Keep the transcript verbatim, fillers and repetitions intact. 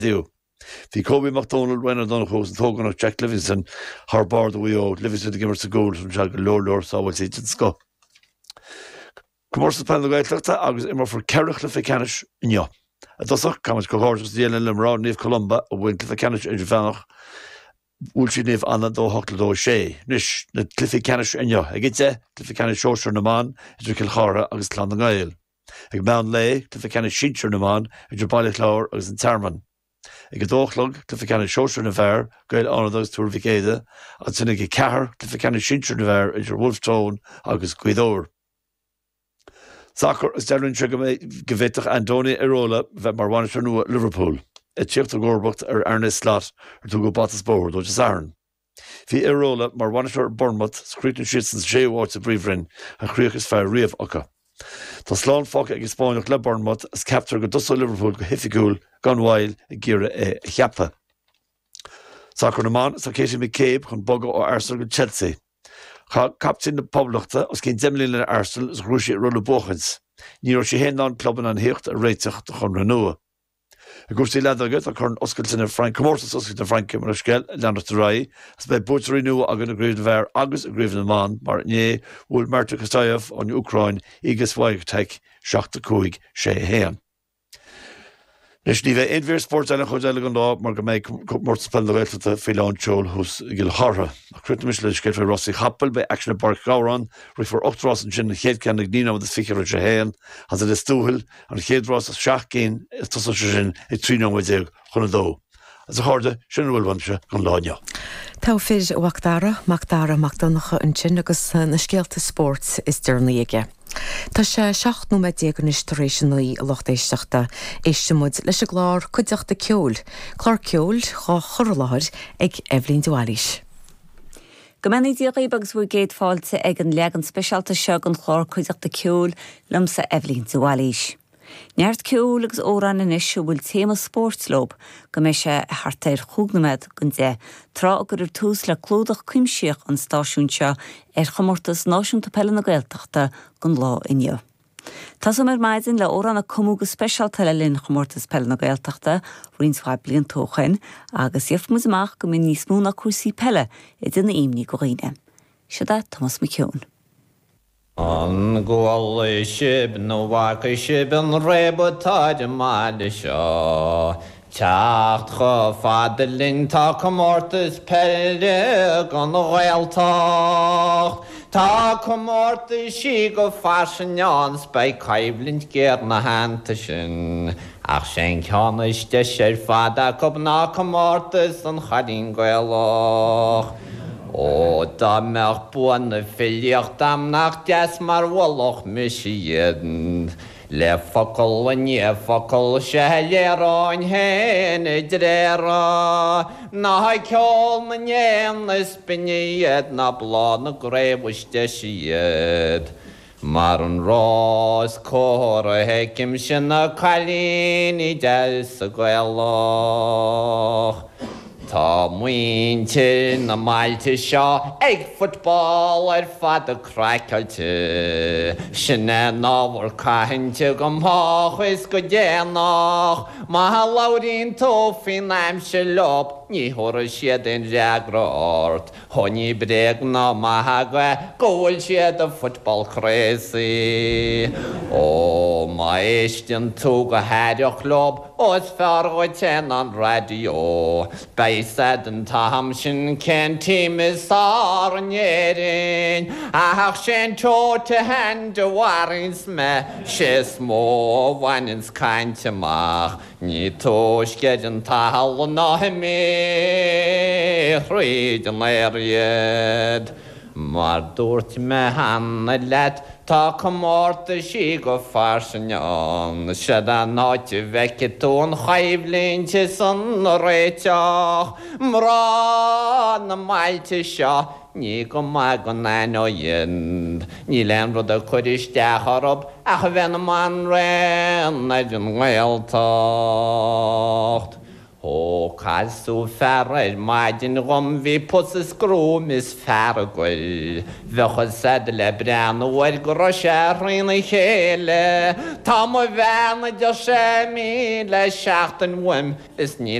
Dú. Bhí Kobe Mac Dónaill Ryan Ó Donnchú an t-ógánach Jack Livingston thar barr do Mhaigh Eo Livingston ag imirt sa gcúl se go leor leor sábháiltí den scoth. Comórtas Peile na Gaeltachta agus imreofar ceithre chluiche ceannais inniu. I dtosach caithfimid comhghairdeas a dhéanamh le mná Naomh Columba a bhuaigh cluiche ceannais idirmheánach bhuail siad Naomh Anna dó hocht le dó sé. Anois na cluichí ceannais inniu ag a deich cluiche ceannais sóisir na mban idir Cill Chartha agus Clann na nGael. Ag meán lae cluiche ceannais sinsir na mban idir Baile Chláir agus an Tearmann. Ag a dó a chlog cluiche ceannais sóisir na bhfear Gaeil Fhánada agus Tuar Mhic Éadaigh ansin ag a ceathair cluiche ceannais sinsir na bhfear idir Wolfe Tone agus Gaoth Dobhair. Sacar is deirtear go go bhféadfadh Andoni Iraola bheith mar bhainisteoir nua Liverpool, ag tíocht i gcomharbacht ar Arne Slot ar tugadh bata is bóthar dó Dé Sathairn. Bhí Iraola mar bhainisteoir Bournemouth is chríochnaigh siad san séú háit sa bPríomhroinn an chríoch is fearr riamh acu. Tá slán fágtha ag an Spáinneach le Bournemouth is ceaptar go dtosóidh Liverpool go hoifigiúil gan mhoill ag iarraidh é a cheapadh. Sacar na mban tá Katie McCabe chun bogadh ó Arsenal go Chelsea. Chaith captaen na Poblachta os cionn deich mbliana le Arsenal is ghnóthaigh sí rolla buachaint. Ní raibh sí féin ná an club in ann theacht ar réiteach do chonradh nua. I gcúrsaí leadóige tá Corn Oscailte na Fraince comórtas oscailte na Fraince mar scéal leanacht ar aghaidh, is beidh buaiteoirí nua againn i gcraobh na bhfear agus i gcraobh na mban mar inné bhuail Marta Kostyuk ón Úcráin Iga Swiatek seacht a cúig sé a haon. Anois ní bheidh aon mhír spóirt eile chomh eile don lá mar go mbeidh comórtas peile na Gaeltachta faoi lán tseoil thuas i gCill Chartha. Ach críochnóimis le scéal faoi rásaí capaill, beidh aicsean i bPáirc Ghabhráin, rithfear ocht rás ansin an chéad ceann ag naoi nóiméad is fiche tar éis a haon, as i Lios Tuathail, an chéad rás as seacht gcinn is tosóidh sé sin ag trí nóiméad déag chun a dó. Agus a chairde, sin a bhfuil uaimse don lá inniu. Tá fir Mhac Dara, Mac Dara Mac Donncha ansin agus na scéalta spóirt is deireanaí aige. Tá sé seacht nóiméad déag anois tar éis a naoi a lucht éisteachta. Éistfimid leis an gclár Cuideachta Ceoil, clár ceoil á chur i láthair ag Eibhlín de Bhailís. Go mbeannaí Dia dhaoibh agus bhur gcéad fáilte ag an leagan speisialta seo den chlár Cuideachta Ceoil liomsa Eibhlín de Bhailís. Neart ceoil agus amhráin anois a bhfuil téama spóirt leo go mbeidh sé thart ar chúig nóiméad don deich, tráth a gcuirfear tús le clúdach cuimsitheach an stáisiúin seo ar chomórtas náisiúnta peile na Gaeltachta don lá inniu. Tosóidh ar maidin le amhrán a cumadh go speisialta le linn chomórtas peile na Gaeltachta roinnt mhaith blianta ó shin agus gheobhaidh muid amach go mbíonn níos mó ná cúrsaí peile ag déanamh imní do dhaoine. Seo é Tomás Mac Eoin. An gcuala sibh nó bhfaca sibh an réabadh atá ar an mbaile seo Teacht chomh fada linn tá comórtas peile don Ghaeltacht Tá comórtaisí go fairsing ann 's beidh coimhlint ghéar 'na theannta sin Ach sé'n ceann is deise ar fad acu ná comórtas an Chailín Gaelach. Ó dá mbeadh bua na filíochta a'm nach deas mar mholfadh mise iad Le focal i ndiaidh focail 'sea a léireoinn féin a dtréithre Ná ceol na n-éan is binne iad ná bláth na gcraobh is deise iad. Mar an rás cóir a fheicimse na cailíní deasa Gaelach. Tá muintir na mbailte seo ag football ar fad craiceáilte. Sin é an ábhar cainte go moch is go déanach. Má labhraíonn tú faoin aimsir leo ní thabharfaidh siad aon fhreagra ort. Ó ní bréag ná magadh é go bhfuil siad football crazy. Ó má éisteann tú go haireach leo ó is fearr dhuit é ná an raidió. Beidh a fhios a'd an t-am sin cén team is fearr in Éirinn. Ach sé'n Toe to Hand a mharaíonns mé sé is mó a bhaineanns caint amach. Ní túisce ar an talamh ná imithe thríd an aer iad. Mar dúirt mé cheana leat tá comórtaisí go fairsing ann, Siod an áit a bhfeicfidh tú an choimhlint is an réiteach. Mná na mbailte seo ní go maith go n-aithneoinn iad. Níl aon rud ag cur isteach orthu ach a bheith ina mbanríon ar an nGaeltacht. Ó Ó casadh fear ar maidin dhom bhí pus is gruaim is fearg air. Bheadh a fhios a'd le breathnú air go raibh sé thrína chéile. Tá mo bhean a deir sé mí le seachtain uaim is níl